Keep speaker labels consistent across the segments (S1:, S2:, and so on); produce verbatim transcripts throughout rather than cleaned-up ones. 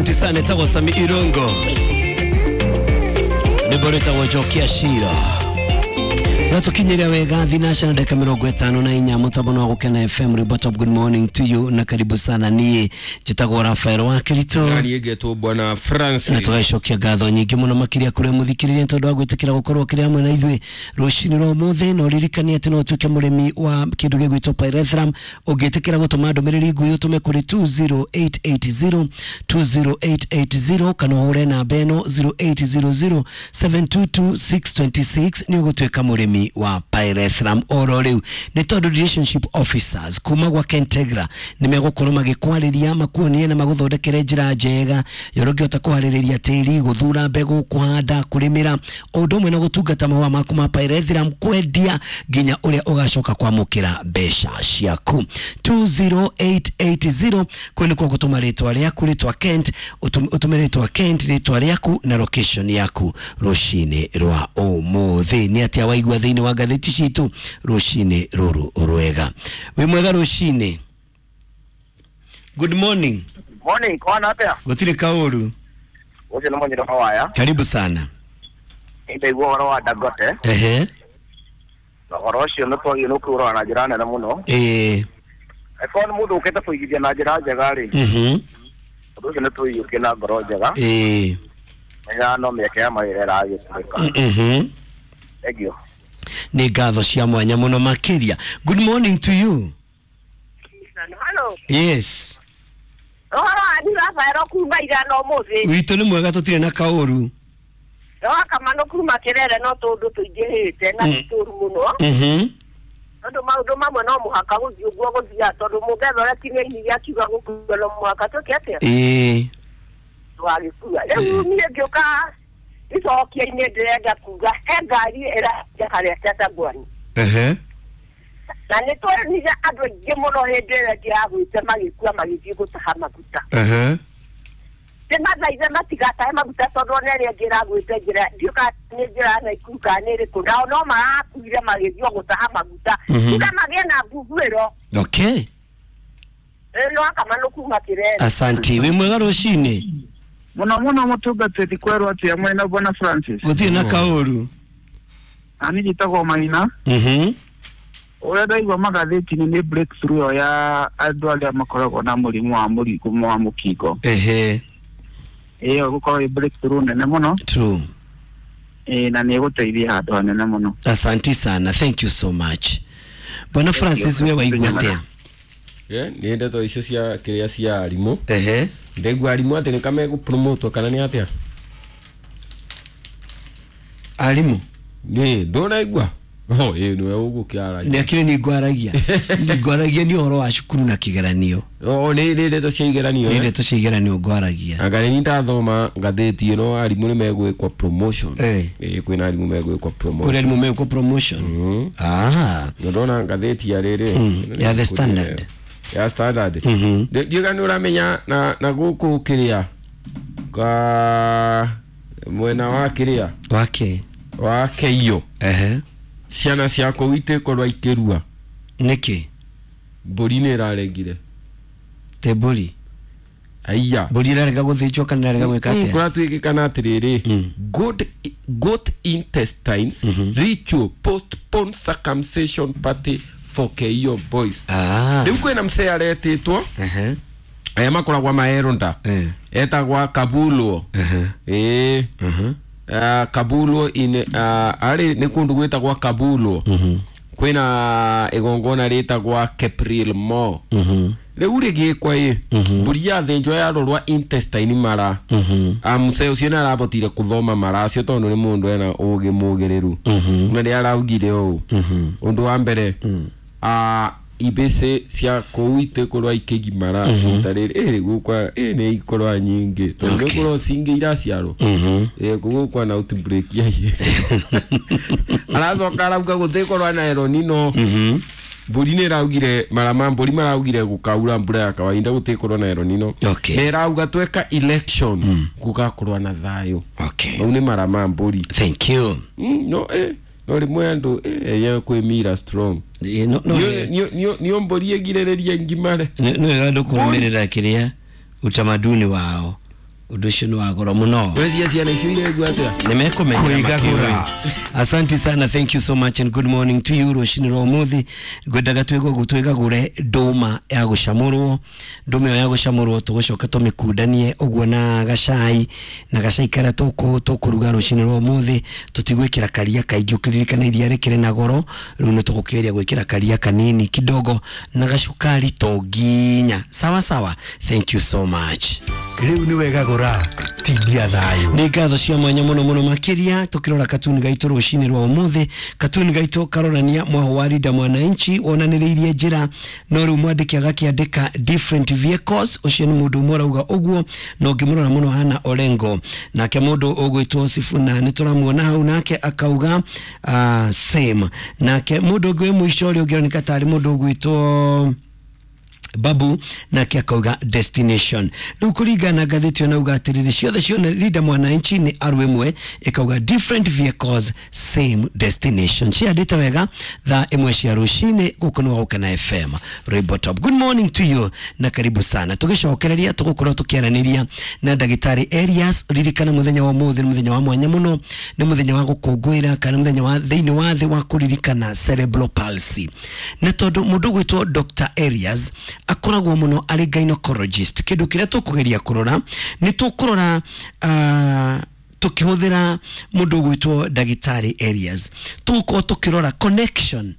S1: Asante sana tagwo Sami Irungo. Rwĩmbo rwĩtagwo Njokia Cira. Na tukinyĩria wega thinaca na dakika mĩrongo ĩtano na inya mũtambo wa Gũkena F M rwĩmbo top. Good morning to you na karibu sana. Niĩ njĩtagwo Rafael wa Kirito
S2: na niĩ ngetwo Bwana Francis,
S1: na tũgacokia ngatho nyingĩ mũno makĩria kũrĩ mũthikĩrĩria tondũ wa gwĩtĩkĩra gũkorwo kĩrĩ hamwe na ithuĩ rũcinĩ rwa ũmũthĩ. Na ũririkanie atĩ no ũtuĩke mũrĩmi wa kĩndũ gĩgwĩtwo pyrethrum ũngĩtĩkĩra gũtũma ndũmĩrĩri nguhĩ ũtũme kũrĩ two zero eight eight zero two zero eight eight zero kana ũhũre namba ĩno zero eight zero zero seven two two six two six nĩ ũgũtuĩka mũrĩmi wa pyrethrum oro rĩu. Nĩ tondũ relationship officers kuma gwa Kentegra nĩ megũkorwo magĩkwarĩria makuonie na magũthondekere njĩra njega ya ũrĩa ũngĩhota kũharĩrĩria tĩri, gũthura mbegũ, kũhanda, kũrĩmĩra, o ũndũ ũmwe na gũtungata mahũa maku ma pyrethrum, kwendia nginya ũrĩa ũgacoka kwamũkĩra mbeca ciaku. two zero eight eight zero kũu nĩkuo gũtũma rĩtwa rĩaku, rĩtwa Kent, ũtũme rĩtwa Kent, rĩtwa rĩaku na location yaku rũcinĩ rwa ũmũthĩ. Nĩ atĩa waigua thĩinĩ wa ngathĩti citũ rũcinĩ rũrũ rwega? Wĩ mwega rũcinĩ. Good morning.
S3: Morning, kwana atia?
S1: Gũtirĩ kaũru.
S3: Ũcio nĩ Mũnyiro Hawaya.
S1: Karibu sana.
S3: Ndaigua ũhoro wa Dangote.
S1: Ehe.
S3: Na ũhoro ũcio nĩ twagĩrĩirwo nĩ kũũrora na njĩra nene mũno.
S1: Ĩĩ.
S3: Angĩkorwo nĩ mũndũ ũkĩte kũigithia na njĩra njega rĩ.
S1: Mhm.
S3: Ũndũ ũcio nĩ tũiyũkie na ngoro njega.
S1: Ĩĩ.
S3: Menya no mĩeke ya mawĩra ĩragĩtuĩka.
S1: Mhm.
S3: Thank you.
S1: Nĩ ngatho cia mwanya mũno makĩria. Good morning to you.
S4: Hello.
S1: Yes.
S4: Ũhoro wanyu Rafael kuma ira no mũthĩ.
S1: Witũ nĩ mwega tũtirĩ na kaũru.
S4: No kamano kuma Kĩrere no tũndũ tũingĩhĩte na ti tũru mũno.
S1: Mhm.
S4: Tondũ maũndũ mamwe no mũhaka gũthiĩ ũguo gũthiaga tondũ mũngetha ũrĩa kinya akiuga gũkua no mũhaka tũke atĩa?
S1: Ĩĩ.
S4: Twagĩkua. Rĩu niĩ ngĩũka icokia-inĩ ndĩrenda kuga he ngari ĩrathiĩ harĩa Chatangwani.
S1: Ehe.
S4: Na nĩ twenire andũ aingĩ mũno hĩndĩ ĩrĩa ĩngĩ yagwĩte magĩkua magĩthiĩ gũtaha maguta.
S1: Ehe.
S4: Ndĩmathaithe matigatahe maguta tondũ ona ĩrĩa ĩngĩ ĩragwĩte njĩra ndiũĩ kana nĩ njĩra ya Naikuru kana nĩ ĩrĩkũ, nao no marakuire magĩthiĩ o gũtaha maguta. Tiga magĩe na mbuguĩro.
S1: Okay.
S4: No akamano kuma Kĩrere.
S1: Asanti. Wĩ mwega rũcinĩ.
S5: Mũno mũno mũtungatĩri kwerwo atĩa mwena Bwana Francis?
S1: Gũtirĩ na kaũru.
S5: Nani njĩtagwo Maina.
S1: Mhm.
S5: Ũrĩa ndaigua magathĩti-inĩ nĩ breakthrough ĩyo ya andũ arĩa makoragwo na mũrimũ wa mũrimũ wa mũkingo.
S1: Ehe.
S5: Ĩyo gũkorwo ĩ breakthrough nene mũno.
S1: True.
S5: Ĩ na nĩ ĩgũteithia handũ hanene mũno.
S1: Asanti sana. Thank you so much. Bwana Francis we waigua atĩa?
S2: Eh, nĩ ndeto icio cia kĩrĩa cia arimũ.
S1: Ehe.
S2: Ndaigua arimũ atĩ nĩ kamegũpromotwo kana nĩ atĩa?
S1: Arimũ?
S2: Nĩ, ndũraigua? Oh, ĩĩ nĩwe ũgũkĩaragia.
S1: Nĩ akĩrĩ nĩ ngwaragia. Nĩ ngwaragia nĩ ũhoro wa cukuru na kĩgeranio.
S2: Oh, nĩ nĩ ndeto cia igeranio.
S1: Nĩ ndeto cia igeranio ngwaragia.
S2: Anga nĩ ndathoma ngathĩti ĩno arimũ nĩ megwĩkwo promotion.
S1: Eh.
S2: Ĩĩ kwĩna arimũ megwĩkwo promotion.
S1: Kũrĩ arimũ megwĩkwo promotion.
S2: Mm.
S1: Ah.
S2: Ndona ngathĩti ya rĩrĩ.
S1: Ya The Standard.
S2: Ya Standard.
S1: Mhm.
S2: Ndiũĩ nĩ ũramenya na na gũkũ kĩrĩa ka mwena wa kĩrĩa
S1: wake
S2: wa Keiyo.
S1: Ehe.
S2: Ciana cia kũu itikorwo ikĩrua.
S1: Nĩkĩ?
S2: Mbũri nĩ ĩrarengire.
S1: Te mbũri?
S2: Aiya.
S1: Mbũri ĩrarega gũthĩnjwo kana ĩrarega gwĩka atĩa?
S2: Kũratuĩkĩkana atĩrĩrĩ, good goat intestines ritual postpone circumcision party for Keiyo boys.
S1: Ah.
S2: Rĩu kwĩna mzee aretĩtwo.
S1: Ehe.
S2: Aya makoragwo maeronda.
S1: Eh.
S2: Etagwa Kabulwo.
S1: Ehe.
S2: Ĩĩ.
S1: Mhm.
S2: Uh, Kabulwo in uh, arĩ nĩ kũndũ gwĩtagwa Kabulwo.
S1: Mhm.
S2: Kwĩna igongona rĩtagwa Kepril Mo.
S1: Mhm.
S2: Rĩu rĩgĩkwa ĩ mbũri yathĩnjwo yarorwa intestine mara.
S1: Mhm.
S2: Mũcee ũcio nĩ arabotire kũthoma mara acio tondũ nĩ mũndũ ena ũgĩ mũgĩrĩru.
S1: Mhm.
S2: Na nĩ araugire ũũ.
S1: Mhm.
S2: Ũndũ wa mbere ah ibĩcĩ cia kũu itikorwo ikĩgimara rita rĩrĩ ĩ gũkwa ĩ nĩ ikorwa nyingĩ tondũ
S1: Okay.
S2: nĩ kũrwo cingĩ iraciarwo.
S1: Mhm.
S2: Ĩ gũgũkwa na outbreak ya aracoka arauga gũtikorwo na El Nino.
S1: Mhm.
S2: Mbũri nĩ ĩraugire mara ma mbũri maraugire gũkaura mbura ya kawaida gũtikorwo na El Nino.
S1: Okay.
S2: Na ĩrauga tweka election gũgakorwo na thayũ.
S1: Okay.
S2: Mau nĩ mara ma mbũri.
S1: Thank you.
S2: Mm, no eh no rĩmwe andũ eh ye kwĩmira strong.
S1: Ĩ, no no
S2: Nĩo mbũri ĩgirĩrĩria ngimare.
S1: nĩ wega andũ kũrũmĩrĩra kĩrĩa utamaduni wao. Ũndũ ũcio nĩ wa goro mũno.
S2: Wecia ciana icio iregua atĩa?
S1: Nimekumenya makiũĩ. Asante sana, thank you so much and good morning to you. Rũcinĩ rwa ũmũthĩ ngwendaga twĩgũgũ twĩgagũre ndũma ya gũcamũrwo. Ndũma ĩyo ya gũcamũrwo tũgũcoka tũmĩkundanie ũguo na gacai, na gacai karĩa tũkũ tũkũruga rũcinĩ rwa ũmũthĩ tũtigwĩkĩra karia kaingĩ, ũkĩririkana iria rĩkĩrĩ na goro, rĩu nĩ tũgũkĩgeria gwĩkĩra karia kanini kidogo na gacukari to nginya. Sawa sawa, thank you so much.
S6: Rĩu nĩ wega gũra tindia thayũ.
S1: Nĩ ngatho cia mwanya mũno mũno makĩria tũkĩrora katuni gaitũ rũcinĩ rwa ũmũthĩ. Katuni gaitũ karonania mwaho wa Linda Mwananchi wonanĩrĩirie njĩra, no rĩu mwandĩki agakĩandĩka different vehicles. Ũcio nĩ mũndũ ũmwe ũrauga ũguo, na ũngĩmũrora mũno hana Orengo. Nake mũndũ ũgwĩtwo Sifuna nĩ tũramuona hau, nake akauga uh, same. Nake mũndũ ũngĩ wĩ mũico ũrĩa ũngĩroneka tarĩ mũndũ ũgwĩtwo Babu, nake akauga destination. Rĩu kũringana na ngathĩti ĩyo nauga atĩrĩrĩ, ciothe cione Linda Mwananchi nĩ aru ĩmwe ĩkauga different vehicles same destination. Ciandĩte wega thaa ĩmwe cia rũcinĩ gũkũ nĩ Gũkena F M Rainbow Top. Good morning to you na karibu sana. Tũgĩcokereria tũgũkorwo tũkĩaranĩria na ndagĩtarĩ Elias. Ririkana mũthenya wa ũmũthĩ nĩ mũthenya wa mwanya mũno, nĩ mũthenya wa gũkũngũĩra kana mũthenya wa thĩinĩ wa thĩ wa kũririkana cerebral palsy. Na tondũ mũndũ ũgwĩtwo Doctor Elias akoragwo mũno arĩ gynecologist, kĩndũ kĩrĩa tũkũgeria kũrora nĩ tũkũrora uh, tũkĩhũthĩra mũndũ ũgwĩtwo ndagĩtarĩ Elias, tũgũkorwo tũkĩrora connection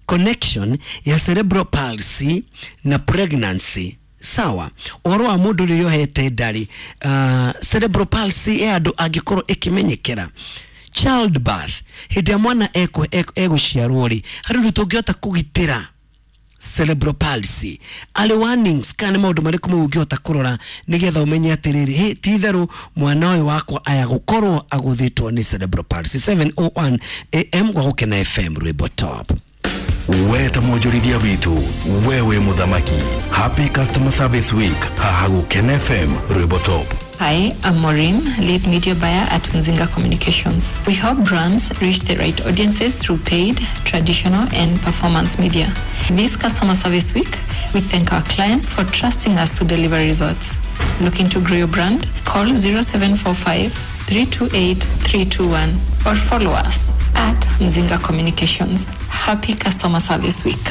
S1: connection ya cerebral palsy na pregnancy. Sawa, ũhoro wa mũndũ rĩrĩa ohete ndarĩ, uh, cerebral palsy ya andũ angĩkorwo ĩkĩmenyekera childbirth, hĩndĩ ya mwana egũciarwo rĩ, harĩ ũndũ tũngĩhota kũgitĩra cerebral palsy, arĩ warnings kana maũndũ marĩkũ mau ũngĩhota kũrora nĩgetha ũmenye atĩrĩrĩ, hĩ ti itherũ mwana ũyũ wakwa aya gũkorwo agũthĩtwo nĩ cerebral palsy. seven oh one A M gwa Gũkena F M Rainbow Top.
S6: We ta mwonjorithia witũ, we wĩ mũthamaki. Happy Customer Service Week haha Gũkena F M Rainbow Top.
S7: Hi, I'm Maureen, lead media buyer at Mzinga Communications. We help brands reach the right audiences through paid, traditional, and performance media. This Customer Service Week, we thank our clients for trusting us to deliver results. Looking to grow your brand? Call zero seven four five, three two eight, three two one or follow us at Mzinga Communications. Happy Customer Service Week.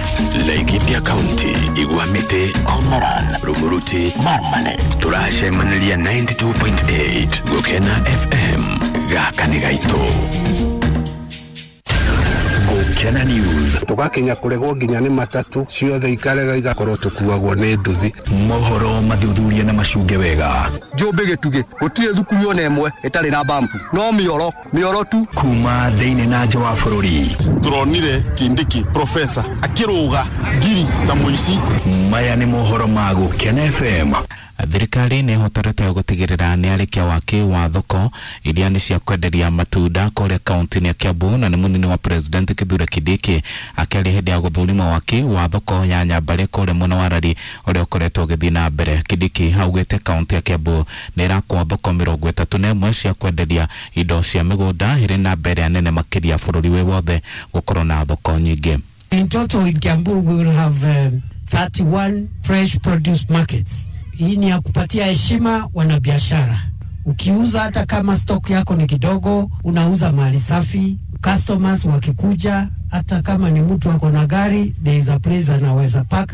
S6: Laikipia County, Igwamite, Omoran, Rumuruti, Marmanet. Turacemaniria ninety-two point eight Gũkena F M. Gaka nĩ gaitũ. Gũkena News.
S8: Tugakinya kuregwo nginya nĩ matatu ciothe ikarega igakorwo tukuagwo nĩ nduthi.
S6: Mohoro mathuthuria na macunge wega.
S9: Njũmbĩ gĩtugĩ gũtirĩ thukuru ona ĩmwe ĩtarĩ na bampu, no mĩoro mĩoro tu.
S6: Kuma thĩinĩ na nja wa bũrũri.
S10: Turonire Kindiki profesa akĩrũga ngiri ta mũici.
S6: Maya nĩ mohoro ma Gũkena F M.
S11: Thirikari nĩ ĩhotorete gũtigĩrĩra nĩ arĩkia waki wa thoko iria nĩ cia kwenderia matunda kũrĩa kaunti-inĩ ya Kiambu, na nĩ mũnini wa president Kithure Kindiki akĩaria hĩndĩ ya gũthũrima waki wa thoko ya Nyambare kũrĩa mwena wa Rari ũrĩa ũkoretwo ũgĩthiĩ na mbere. Kindiki augĩte kaunti ya Kiambu nĩ ĩrakwo thoko mĩrongo ĩtatũ na ĩmwe cia kwenderia indo cia mĩgũnda ĩrĩ na mbere nene makĩria bũrũri wĩ wothe gũkorwo na thoko nyingĩ.
S12: In total in Kiambu we will have um, thirty-one fresh produce markets. Hii ni ya kupatia heshima wanabiashara. Ukiuza hata kama stock yako ni kidogo, unauza mali safi. Customers wakikuja, hata kama ni mtu ako na gari, there is a place anaweza park.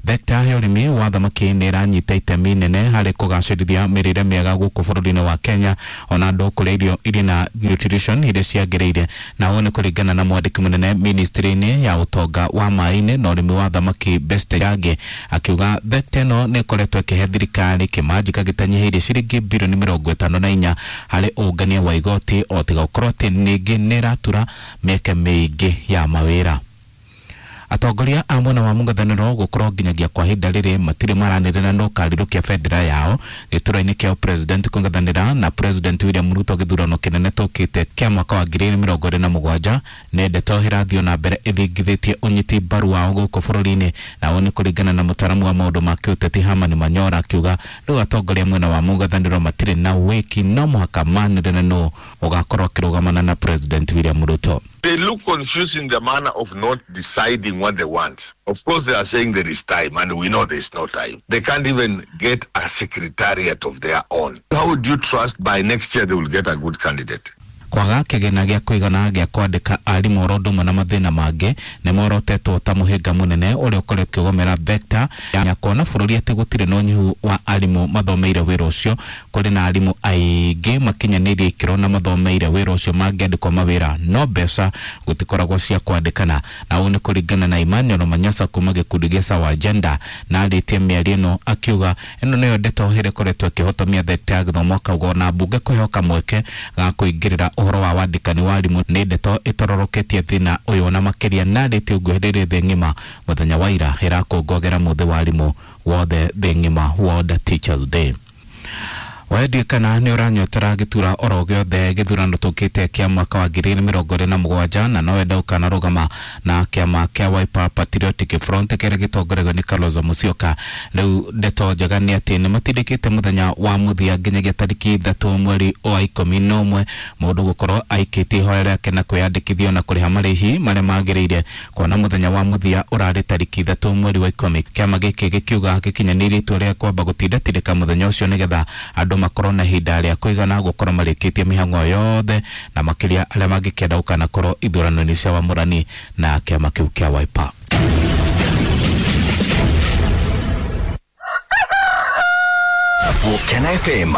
S11: Thekta ya ũrĩmi wa thamaki nĩ ĩranyita itemi nene harĩ kũgacĩrithia mĩrĩre mĩega gũkũ bũrũri-inĩ wa Kenya, ona andũ kũrĩa irio irĩ na nutrition iria ciagĩrĩire, na ũũ nĩ kũringana na mwandĩki mũnene ministry-inĩ ya ũtonga wa maĩ-inĩ na ũrĩmi wa thamaki Best Yange, akiuga thekta ĩno nĩ ĩkoretwo ĩkĩhe thirikari kĩmanjĩka gĩtanyihĩirie ciringi birioni mĩrongo ĩtano na inya harĩ ũngania wa igoti, o tiga gũkorwo atĩ ningĩ nĩ ĩratura mĩeke mĩingĩ ya mawĩra. Atongoria a mwena wa mũng'ethanĩro gũkorwo nginyagia kwa ihinda rĩrĩ matirĩ maranĩrĩra no karirũkia bendera yao gĩturwa-inĩ kĩa president kũng'ethanĩra na president William Ruto gĩthurano kĩnene tũkĩte kĩa mwaka wa ngiri igĩrĩ mĩrongo ĩrĩ na mũgwanja. Nĩ ndeto ĩrathiĩ na mbere ĩthingithĩtie ũnyiti mbaru wao gũkũ bũrũri-inĩ, na ũũ nĩ kũringana na mũtaaramu wa maũndũ ma kĩũteti Herman Manyora akiuga rĩu atongoria mwena wa mũng'ethanĩro matirĩ na wĩki, no mũhaka manĩrĩre nũ ũgakorwo akĩrũgamana na president William Ruto.
S13: They look confused in the manner of not deciding doing what they want. Of course, they are saying there is time, and we know there is no time. They can't even get a secretariat of their own. How would you trust by next year they will get a good candidate?
S11: Kwaga kĩgĩna gĩa kũigana gĩa kwandĩka arimũ oro ũndũ ũmwe na mathĩna mangĩ nĩ morotetwo ta mũhĩnga mũnene ũrĩa ũkoretwo ũkĩgomera thekta ya kuona bũrũri atĩ gũtirĩ na ũnyihu wa arimũ mathomeire wĩra ũcio. Kũrĩ na arimũ aingĩ makinyanĩirie ikĩro na mathomeire wĩra ũcio mangĩandĩkwo mawĩra no mbeca gũtikoragwo cia kwandĩkana. Na ũũ nĩ kũringana na Emmanuel Manyasa kuma gĩkundi gĩa Sawa Agenda, na arĩtie mĩario ĩno akiuga ĩno nĩyo ndeto ĩrĩa ĩkoretwo ĩkĩhotomia thekta ya gĩthomo, akauga ona mbunge kũheo kamweke ga kũingĩrĩra ũhoro wa wandĩkani wa arimũ nĩ ndeto ĩtororoketie thĩna ũyũ na makĩria. Na arĩtie ũguo hĩndĩ ĩrĩa thĩ ng'ima mũthenya wa ira ĩrakũngũagĩra mũthĩ wa arimũ wothe thĩ ng'ima, World Teachers Day. Wendie kana nĩ ũranyotera gĩtura oro gĩothe gĩthurano tũkĩte kĩa mwaka wa ngiri igĩrĩ mĩrongo ĩrĩ na mũgwanja na no wenda ũkanarũgama na kĩama kĩa Wiper Patriotic Front kĩrĩa gĩtongoragio nĩ Kalonzo Musyoka. Rĩu ndeto njega nĩ atĩ nĩ matindĩkĩte mũthenya wa mũthia nginyagia tarĩki ithatũ mweri wa ikũmi na ũmwe mũndũ gũkorwo aikĩtie ihoya rĩake na kwĩyandĩkithia na kũrĩha marĩhi marĩa magĩrĩire, kuona mũthenya wa mũthia ũrarĩ tarĩki ithatũ mweri wa ikũmi. Kĩama gĩkĩ gĩkiuga gĩkinyanĩirie itua rĩa kwamba gũtindatindĩka mũthenya ũcio nĩgetha andũ makorwo na ihinda rĩa kũigana gũkorwo marĩkĩtie mĩhang'o yothe na makĩria arĩa mangĩkenda gũkanakorwo ithurano-inĩ cia wamũrani na kĩama kĩu kĩa Wiper.
S6: Gukena F M.